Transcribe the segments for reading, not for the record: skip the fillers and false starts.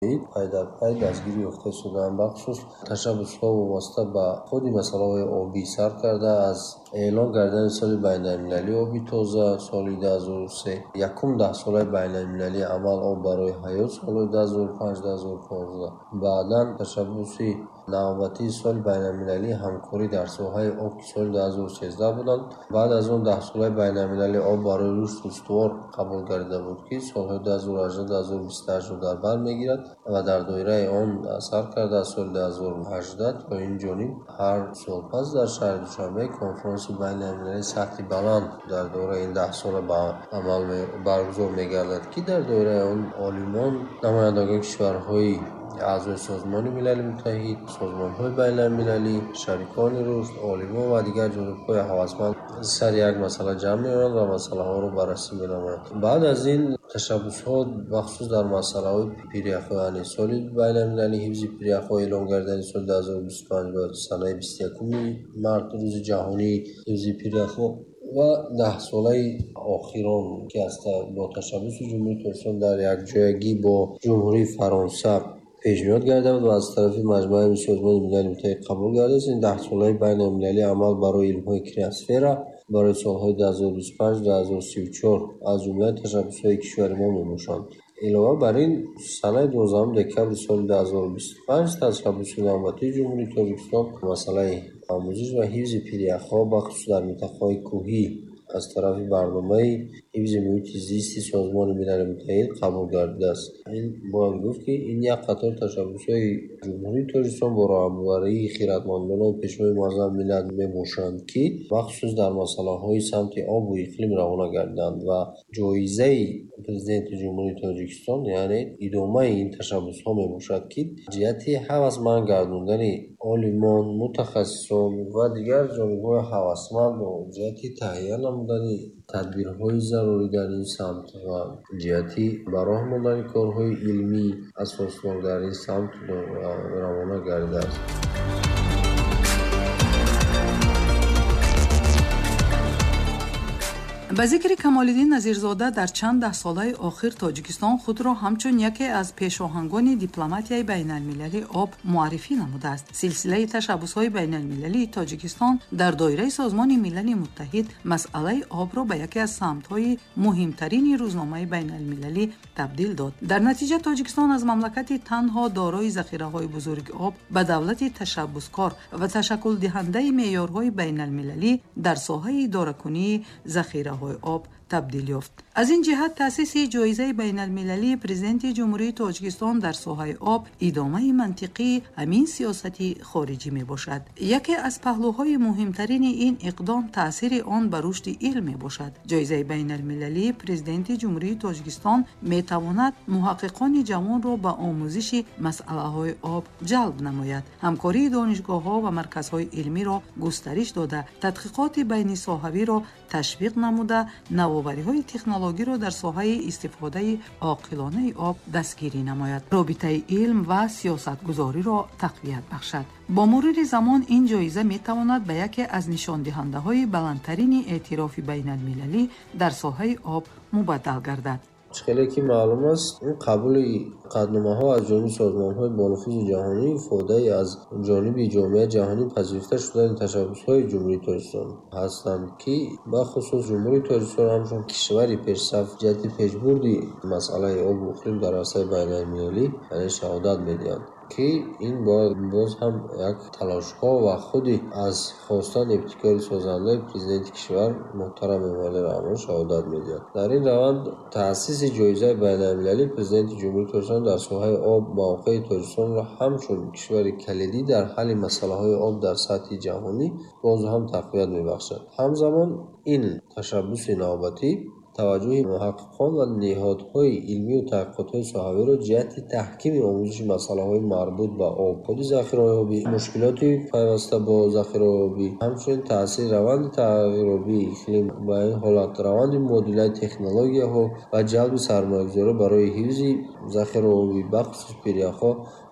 Пай дар пай дастгирӣ ёфта истодаанд. Бахусус ташаббусҳо вобаста ба худи масъалаҳои обӣ сар карда аз эълон кардани соли байналмилалии оби тоза соли 2003, якум даҳсолаи байналмилалии амал об барои ҳаёт соли 2005-2015, баъдан ташаббуси навбатии соли байналмилалии ҳамкорӣ дар соҳаи об, ки соли 2013 буданд. Баъд аз он даҳсолаи байналмилалии об барои рушди устувор қабул гардида буд, ки солҳои 2018-2028-ро дар бар мегирад ва дар доираи он сар карда аз соли 2018 то ин ҷониб ҳар сол пас дар шаҳри Душанбе конфронси байналмилалии сатҳи баланд дар доираи ин даҳсола ба амал баргузор мегардад, ки дар доираи он олимон, намояндагони кишварҳои аъзои Созмони Милали Муттаҳид, созмонҳои байналмилалӣ, шарикони рушд, олимон ва дигар ҷонибҳои ҳавасманд сари як масъала ҷамъ меоянд ва масъалаҳоро баррасӣ менамоянд. Баъд аз ин ташаббусҳо бахусус дар масъалаҳои пиряхҳо, яъне соли байналмилалии ҳифзи пиряхҳо эълон гардидани соли 2025 ва санаи 21 март рӯзи ҷаҳонии ҳифзи пиряхҳо ва даҳсолаи охирон, ки бо ташаббуси Ҷумҳурии Тоҷикистон дар якҷоягӣ бо Ҷумҳурии Фаронса пешниҳод гардида буд ва аз тарафи Маҷмааи Созмони Милали Муттаҳид қабул гардидааст. Ин даҳсолаи байналмилалии амал барои илмҳои криосфера барои солҳои 2025-2034 аз ҷумлаи ташаббусҳои кишвари мо мебошанд. Илова бар ин, санаи 12 декабри соли 2025 ташаббуси навбатии Ҷумҳурии Тоҷикистон масъалаи омӯзиш ва ҳифзи пиряхҳо бахусус дар минтақаҳои кӯҳӣ аз тарафи барномаи ҳифзи муҳити зисти Созмони Милали Муттаҳид қабул гардидааст. Ин бояд гуфт, ки ин як қатор ташаббусҳои Ҷумҳурии Тоҷикистон бо роҳбарии хиратмандонаи Пешвои муаззами миллат мебошанд, ки бахусус дар масъалаҳои самти обу иқлим равона гардиданд ва ҷоизаи Президенти Ҷумҳурии Тоҷикистон, яъне идомаи ин ташаббусҳо мебошад, ки ҷиҳати ҳавасманд гардондани олимон, мутахассисон ва дигар ҷонибҳои ҳавасманд ҷиҳати таҳия намудани тадбирҳои зарурӣ дар ин самт ва ҷиҳати ба роҳ мондани корҳои илмӣ асоснок дар ин самт равона гардидааст. Ба зикри Камолиддин Назирзода, дар чанд даҳсолаи охир Тоҷикистон худро ҳамчун яке аз пешоҳангони дипломатияи байналмилалии об муаррифӣ намудааст. Силсилаи ташаббусҳои байналмилалии Тоҷикистон дар доираи Созмони Милали Муттаҳид масъалаи обро ба яке аз самтҳои муҳимтарини рӯзномаи байналмилалӣ табдил дод. Дар натиҷа Тоҷикистон аз мамлакати танҳо дорои захираҳои бузурги об ба давлати ташаббускор ва ташаккулдиҳандаи меъёрҳои байналмилалӣ дар соҳаи идоракунии захираҳои об табдил ёфт. Аз ин ҷиҳат таъсиси ҷоизаи байналмилалии Президенти Ҷумҳурии Тоҷикистон дар соҳаи об идомаи мантиқии ҳамин сиёсати хориҷӣ мебошад. Яке аз паҳлӯҳои муҳимтарини ин иқдом таъсири он ба рушди илм мебошад. Ҷоизаи байналмилалии Президенти Ҷумҳурии Тоҷикистон метавонад муҳаққиқони ҷавонро ба омӯзиши масъалаҳои об ҷалб намояд, ҳамкории донишгоҳҳо ва марказҳои илмиро густариш дода, тадқиқоти байнисоҳавиро ташвиқ намуда, навовариҳои технологиро дар соҳаи истифодаи оқилонаи об дастгирӣ намояд, робитаи илм ва сиёсатгузориро тақвият бахшад. Бо мурури замон ин ҷоиза метавонад ба яке аз нишондиҳандаҳои баландтарини эътирофи байналмилалӣ дар соҳаи об мубаддал гардад. Хеле ки маълум аст, ин қабули қатъномаҳо аз ҷониби созмонҳои бонуфузи ҷаҳонӣ ифодаи аз ҷониби ҷомеаи ҷаҳонӣ пазируфта шудани ташаббусҳои Ҷумҳурии Тоҷикистон ҳастанд, ки бахусус Ҷумҳурии Тоҷикистон ҳамчун кишвари пешсаф ҷиҳати пешбурди масъалаи обу иқлим дар арсаи байналмилалӣ яъне шаҳодат медиҳанд, ки ин бояд боз ҳам як талошҳо ва худи аз хостан ибтикори созандаи Президенти кишвар муҳтарам Эмомалӣ Раҳмон шаҳодат медиҳад. Дар ин раванд таъсиси ҷоизаи байналмилалии Президенти Ҷумҳурии Тоҷикистон дар соҳаи об мавқеи Тоҷикистонро ҳамчун кишвари калидӣ дар ҳалли масъалаҳои об дар сатҳи ҷаҳонӣ боз ҳам тақвият мебахшад. Ҳамзамон ин ташаббуси навбатӣ таваҷҷӯҳи муҳаққиқон ва ниҳодҳои илмию таҳқиқотҳои соҳавиро ҷиҳати таҳкими омӯзиши масъалаҳои марбут ба об, худи захираҳои обӣ, мушкилоти пайваста бо захираҳои обӣ, ҳамчунин таъсири раванди тағйирёбии иқлим ба ин ҳолат, раванди мубодилаи технологияҳо ва ҷалби сармоягузорӣ барои ҳифзи захираҳои обӣ, бахусус пиряхҳо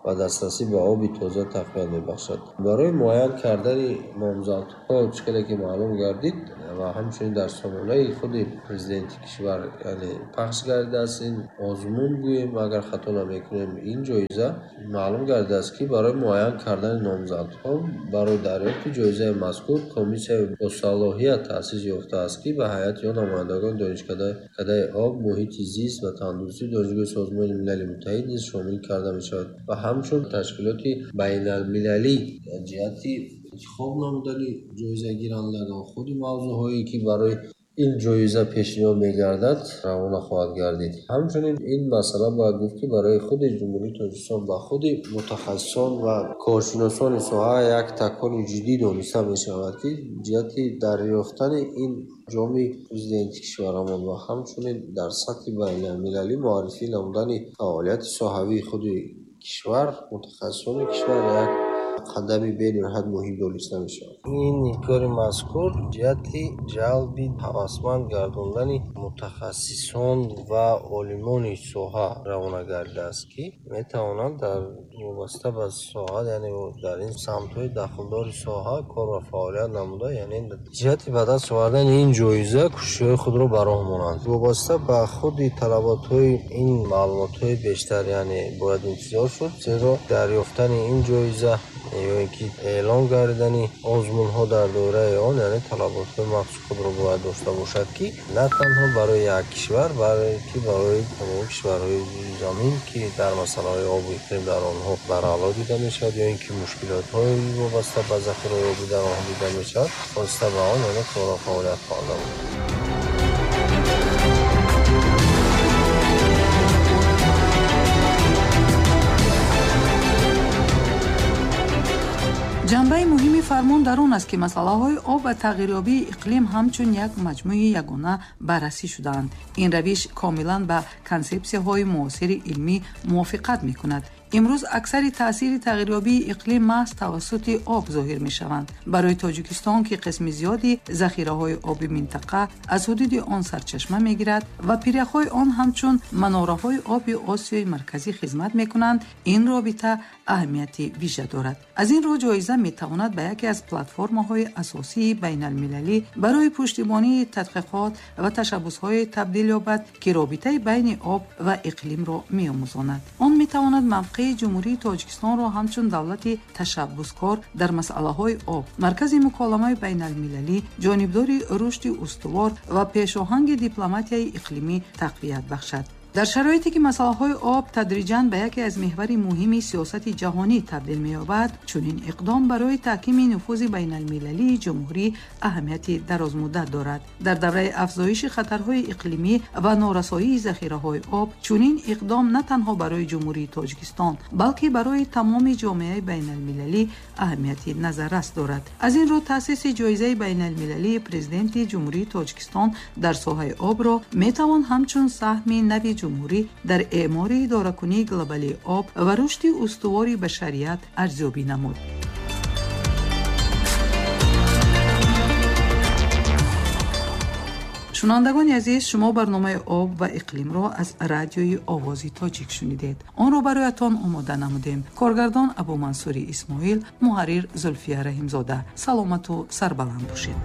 ва дастрасӣ ба оби тоза тақвият мебахшад. Барои муайян кардани номзадҳо, чӣ хеле ки маълум гардид ва ҳамчунин дар сомонаи худи президенти кишвар, яъне пахш гардидааст ин озмун, гӯем, агар хато намекунем, ин ҷоиза маълум гардидааст, ки барои муайян кардани номзадҳо барои дарёфти ҷоизаи мазкур комиссияи босалоҳият таъсис ёфтааст, ки ба ҳайати он намояндагони Донишкадаи об, муҳити зист ва тандурустии Донишгоҳи Созмони Милали Муттаҳид низ шомил карда мешавад ва ҳамчун ташкилоти байналмилалӣ ҷиҳати интихоб намудани ҷоизагирандагон худи мавзӯъҳое, ки барои ин ҷоиза пешниҳод мегардад, равона хоҳад гардид. Ҳамчунин ин масъала бояд гуфт, ки барои худи Ҷумҳурии Тоҷикистон ба худи мутахассисон ва коршиносони соҳа як такони ҷиддӣ дониста мешавад, ки ҷиҳати дарёфтани ин ҷоми президенти кишварамон ва ҳамчунин дар сатҳи байналмилалӣ муаррифӣ намудани фаъолияти соҳавии худи кишвар, мутахассисони кишвар як қадами бениҳоят муҳим дониста мешавад. Ин кори мазкур ҷиҳати ҷалби ҳавасманд гардондани мутахассисон ва олимони соҳа равона гардидааст, ки метавонанд дар вобаста ба соҳа, яъне дар ин самтҳои дахлдори соҳа кор ва фаъолият намуда, яъне ҷиҳати ба даст овардани ин ҷоиза кӯшишҳои худро ба роҳ монанд. Вобаста ба худи талаботҳои ин маълумотҳои бештар, яъне бояд интизор шуд, зеро дарёфтани ин ҷоиза ё ин ки эълон гардидани озмунҳо дар доираи он, яъне талаботҳои махсуси худро бояд дошта бошад, ки на танҳо барои як кишвар, балки барои тамоми кишварҳои замин, ки дар масъалаҳои обу иқлим дар онҳо барало дида мешавад ё ин ки мушкилотҳои вобаста ба захираҳои обӣ дар онҳо дида мешавад, хоста ба он яъне кору фаъолият хоҳад намуд. Ҷанбаи муҳими фармон дар он аст, ки масъалаҳои об ва тағйирёбии иқлим ҳамчун як маҷмӯи ягона баррасӣ шудаанд. Ин равиш комилан ба консепсияҳои муосири илмӣ мувофиқат мекунад. Имрӯз аксари таъсири тағйирёбии иқлим маҳз тавассути об зоҳир мешаванд. Барои Тоҷикистон, ки қисми зиёди захираҳои оби минтақа аз ҳудуди он сарчашма мегирад ва пиряхҳои он ҳамчун манораҳои оби Осиёи Марказӣ хизмат мекунанд, ин робита аҳамияти вижа дорад. Аз ин рӯ ҷоиза метавонад ба яке аз платформаҳои асосии байналмилалӣ барои пуштибонии тадқиқот ва ташаббусҳое табдил ёбад, ки робитаи байни об ва иқлимро меомӯзонад. Он метавонад мавқеи Ҷумҳурии Тоҷикистонро ҳамчун давлати ташаббускор дар масъалаҳои об, маркази муколамаи байналмилалӣ, ҷонибдори рушди устувор ва пешоҳанги дипломатияи иқлимӣ тақвият бахшад. Дар шароите ки масъалаҳои об тадриҷан ба яке аз меҳвари муҳими сиёсати ҷаҳонӣ табдил меёбад, чунин иқдом барои таҳкими нуфузи байналмилалии ҷумҳурӣ аҳамияти дарозмуддат дорад. Дар давраи афзоиши хатарҳои иқлимӣ ва норасоии захираҳои об, чунин иқдом на танҳо барои Ҷумҳурии Тоҷикистон, балки барои тамоми ҷомеаи байналмилалӣ аҳамияти назаррас дорад. Аз ин рӯ таъсиси ҷоизаи байналмилалии президенти Ҷумҳурии Тоҷикистон дар соҳаи обро метавон ҳамчун саҳми нави ҷумҳурӣ дар эъмори идоракунии глобалии об ва рушди устувори башарият арзёбӣ намуд. Шунавандагони азиз, шумо барномаи об ва иқлимро аз радиои Овози Тоҷик шунидед. Онро бароятон омода намудем. Коргардон Абумансури Исмоил, муҳаррир Зулфия Раҳимзода. Саломату сарбаланд бошед.